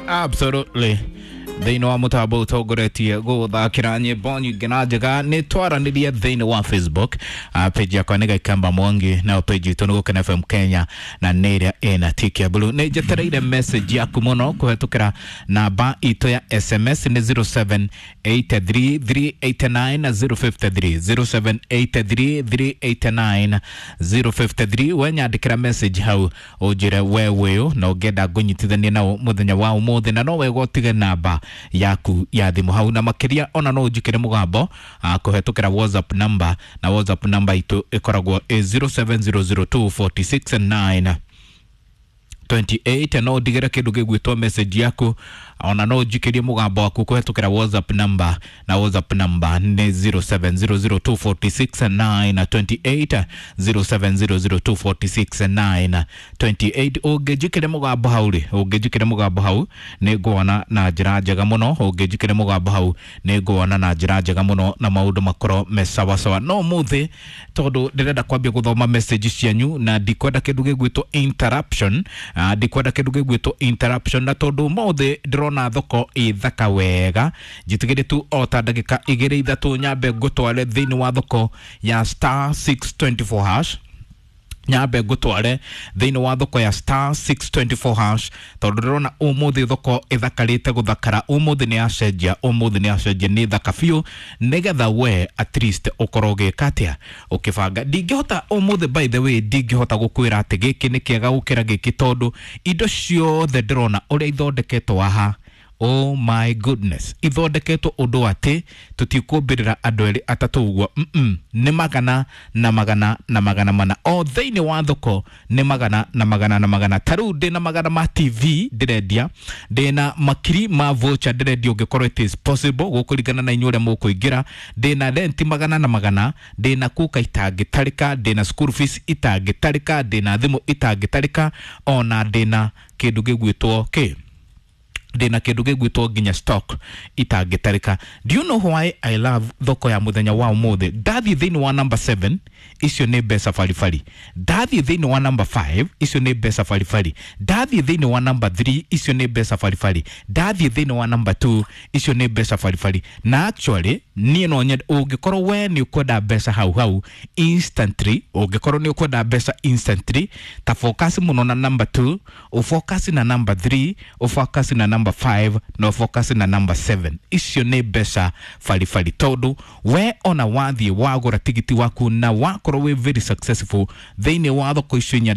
Absolutely. Thĩinĩ wa mũtambo ũtongoretie gũthakĩra nyĩmbo nyingĩ na njega nĩ twaranĩrie thĩinĩ wa Facebook. Page yakwa nĩ Gaikamba Mwangi, nayo page itũ nĩ Gũkena FM Kenya na nĩ ĩrĩa ĩna tick ya blue. Nĩ njetereire message yaku mũno kũhetũkĩra namba itũ ya SMS nĩ 0783389053, 0783389053. We nyandĩkĩra message hau ũnjĩre we wĩũ na ũngĩenda ngũnyitithanie nao mũthenya wa ũmũthĩ, na no wega ũtige namba yaku ya thimũ hau, na makĩria ona no ũnjĩkĩre mũgambo kũhetũkĩra WhatsApp number, na WhatsApp number itũ ĩkoragwo ĩ 07002469 28. No ndigĩre kĩndũ gĩgwĩtwo message yaku, ona no njikĩrie mũgambo waku kũhetũkĩra WhatsApp number, na WhatsApp number nĩ 0700246928, 0700246928. Ũngĩnjikĩria mũgambo hau rĩ, ũngĩnjikĩria mũgambo hau nĩ nguona na njĩra njega mũno, ũngĩnjikĩria mũgambo hau nĩ nguona na njĩra njega mũno na maũndũ makorwo me sawasawa. No ũmũthĩ tondũ ndĩrenda kwambia gũthoma message cianyu na ndikwenda kĩndũ gĩgwĩtwo interruption, ndikwenda kĩndũ gĩgwĩtwo interruption, na tondũ ũmũthĩ ndĩrona thoko ĩ thaka wega, njĩtĩkĩrie tu o ta ndagĩka igĩrĩ ithatũ nyambe ngũtware thĩinĩ wa thoko ya star 624 hash, nyambe ngũtware thĩinĩ wa thoko ya star 624 hash, tondũ ndĩrona ũmũthĩ thoko ĩthakarĩte gũthakara. Ũmũthĩ nĩ yacenjia, ũmũthĩ nĩ yacenjia, nĩ thaka biũ, nĩgetha we at least ũkorwo ũgĩka atĩa, ũkĩbanga. Ndingĩhota ũmũthĩ, by the way, ndingĩhota gũkwĩra atĩ gĩkĩ nĩ kĩega gũkĩra gĩkĩ, tondũ indo ciothe ndĩrona ũrĩa ithondeketwo haha, oh my goodness, ithondeketwo ũndũ atĩ tũtikũmbĩrĩra andũ erĩ atatũ ũguo. Nĩ magana na magana na magana mana o thĩinĩ wa thoko, nĩ magana na magana na magana. Ta rĩu ndĩna magana ma TV ndĩrendia, ndĩna makiri ma voucher ndĩrendia, ũngĩkorwo it is possible gũkũringana na inyuĩ ũrĩa mũkũingĩra. Ndĩna rent magana na magana, ndĩna kuka itangĩtarĩka, ndĩna school fees itangĩtarĩka, ndĩna thimũ itangĩtarĩka, ona ndĩna kĩndũ gĩgwĩtwo kĩ, ndĩna kĩndũ gĩgwĩtwo nginya stock itangĩtarĩka. Do you know why I love thoko ya mũthenya wa ũmũthĩ? Ndathiĩ thĩinĩ wa number 7, icio nĩ mbeca baribari. Ndathiĩ thĩinĩ wa number 5, icio nĩ mbeca baribari. Ndathiĩ thĩinĩ wa number 3, icio nĩ mbeca baribari. Ndathiĩ thĩinĩ wa number 2, icio nĩ mbeca baribari. Na actually niĩ no nyende ũngĩkorwo we nĩ ũkwenda mbeca hau hau instantly, ũngĩkorwo nĩ ũkwenda mbeca instantly, ta focus mũno na number 2, ũfocus na number 3, ũfocus na number 5 na ũfocus na number 7. Icio nĩ mbeca baribari, tondũ we ona wathiĩ wagũra tigiti waku na wakorwo wĩ very successful thĩinĩ wa thoko icio inya.